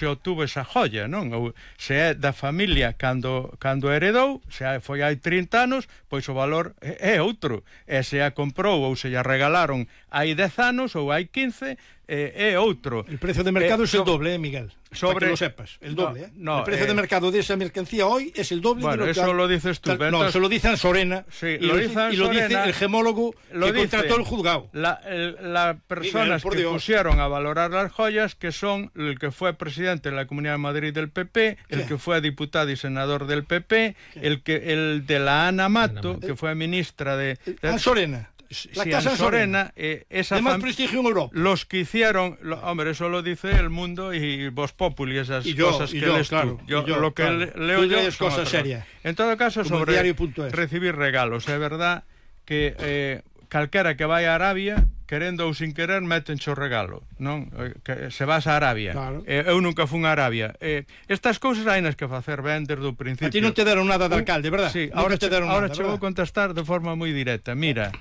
se obtuvo esa joia, non? Ou se é da familia cando heredou, se foi hai 30 anos, pois o valor é outro. E se a comprou ou se a regalaron hai 10 anos ou hai 15, é outro. El precio de mercado es el doble, Miguel. Para que lo sepas, el doble. El precio de mercado de esa mercancía hoy es el doble de lo que... Bueno, eso lo dices tú. No, eso lo dicen Sorena. Sí, y lo dice el gemólogo que contrató el juzgado. Las personas que pusieron a valorar las joyas, que son el que fue presidente de la Comunidad de Madrid del PP, el que fue diputado y senador del PP, el de la Ana Mato, que fue ministra de... Sorena. La Casa Sorena, esa de más prestigio en Europa. Los que hicieron, hombre, eso lo dice El Mundo y Voz Populi, esas cosas que lees tú. Yo lo que leo yo es cosa seria. En todo caso, sobre recibir regalos, é verdad que calquera que vai a Arabia, querendo ou sin querer, metenche o regalo, non? Que se vas a Arabia. Claro. Eu nunca fun a Arabia. Estas cousas hai nas que facer ben desde o principio. A ti non te deron nada de alcalde, verdad? Sí, ahora che vou contestar de forma moi directa. Mira,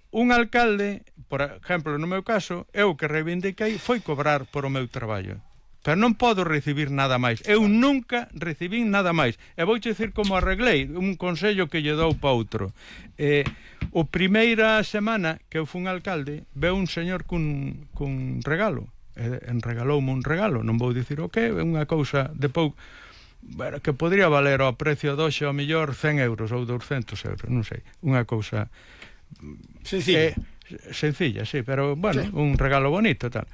un alcalde, por exemplo, no meu caso, eu que reivindiquei foi cobrar por o meu traballo. Pero non podo recibir nada máis. Eu nunca recibín nada máis. E vouche dicir como arreglei, un consello que lle dou para outro. O primeira semana que eu fun alcalde, veu un señor cun regalo. Regaloume un regalo, non vou dicir o que, é unha cousa de pouco, bueno, que podría valer ao precio doxe ao millor 100 euros ou 200 euros, non sei. Unha cousa sencilla. Sencilla, sí, pero bueno, sí. Un regalo bonito tal.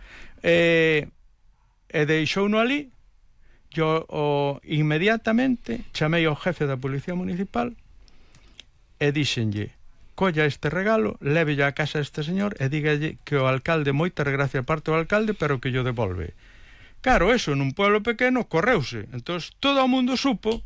E deixouno ali. Yo inmediatamente chamei ao jefe da Policía Municipal e díxenlle: colla este regalo, lévelle a casa a este señor e dígalle que o alcalde, moitas gracias parte do alcalde, pero que yo devolve. Claro, eso nun pueblo pequeno correuse. Entón todo o mundo supo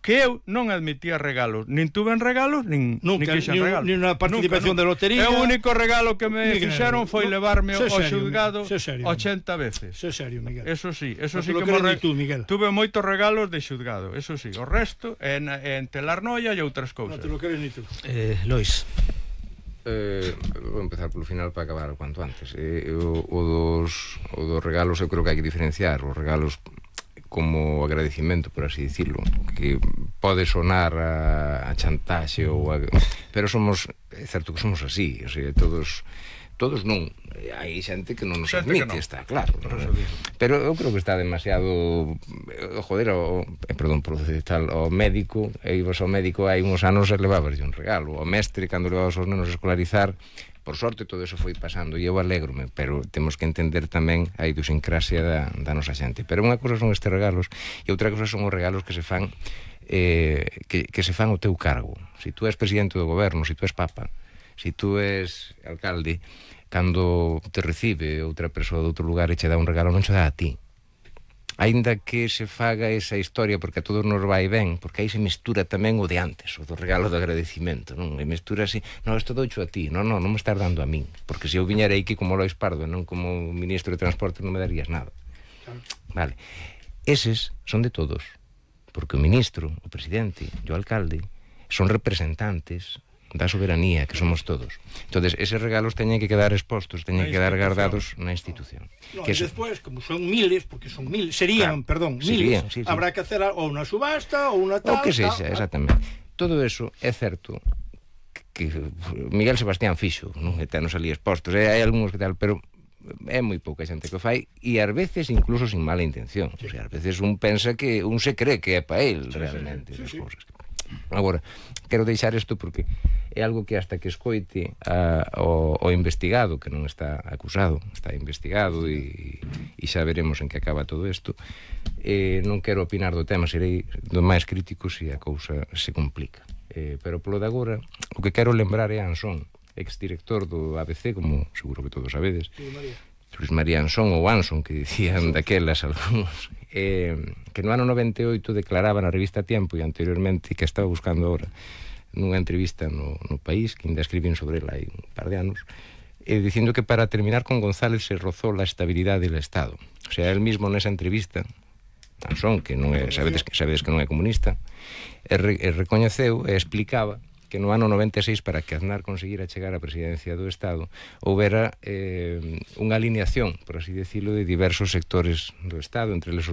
que eu non admitía regalos, nin tuven regalos, nin quixen regalos. Ni unha participación de lotería. O único regalo que me fixeron foi levarme ao xulgado 80 veces. Eso é serio, Miguel. Eso sí que tuve moitos regalos de xulgado, eso sí. O resto en telarnoia e outras cousas. Non te lo crees ni tú. Lois. Vou empezar polo final para acabar cuanto antes. O dos regalos eu creo que hai que diferenciar os regalos como agradecimento, por así dicirlo, que pode sonar a chantaxe ou pero é certo que somos así, o sea, todos non, hai xente que non nos admite, está claro, pero eu creo que está demasiado joder, perdón por decir tal, o médico, e ibas ao médico hai uns anos e levabas un regalo, o mestre cando levabas os nenos a escolarizar. Por sorte todo eso foi pasando e eu alégrome, pero temos que entender tamén a idiosincrasia da nosa xente. Pero unha cousa son estes regalos e outra cousa son os regalos que se fan que se fan ao teu cargo. Si tú és presidente do goberno, si tú és papa, si tú és alcalde, cando te recibe outra persoa de outro lugar e che dá un regalo, non che dá a ti. Aínda que se faga esa historia, porque a todos nos vai ben, porque aí se mistura tamén o de antes, o do regalo de agradecimento, non? E mistura así, non, isto doucho a ti, non me estás dando a min, porque se eu viñera aquí como Lois Pardo, non como ministro de Transporte, non me darías nada. Vale. Eses son de todos, porque o ministro, o presidente e o alcalde son representantes da soberanía, que somos todos. Entonces, eses regalos teñen que quedar expostos, teñen que quedar guardados na institución. No, e despois, como son miles, porque son miles, serían, miles, habrá que hacer ou unha subasta ou unha tal... O que sexa, exactamente. Todo eso é certo que Miguel Sebastián fixo, non? E tenos ali expostos, hai algúns que tal, pero é moi pouca xente que o fai e ás veces incluso sin mala intención. O sea, ás veces un pensa que un se cree que é para él realmente as cousas. Agora, quero deixar isto porque é algo que hasta que escoite o investigado, que non está acusado, está investigado e xa veremos en que acaba todo isto, non quero opinar do tema, serei do máis crítico se a cousa se complica, pero polo de agora o que quero lembrar é Ansón, exdirector do ABC, como seguro que todos sabedes, Luis María Ansón ou Anson, que dicían daquelas algúns, que no ano 98 declaraba na revista Tiempo e anteriormente, que estaba buscando ahora nunha entrevista no País, que ainda escribín sobre ela hai un par de anos, dicindo que para terminar con González se rozó la estabilidad del Estado. O sea, él mismo nesa entrevista, Ansón, que non é, sabedes que non é comunista, recoñeceu e explicaba que no ano 96, para que Aznar conseguira chegar á presidencia do Estado, houbera unha alineación, por así decirlo, de diversos sectores do Estado, entre eles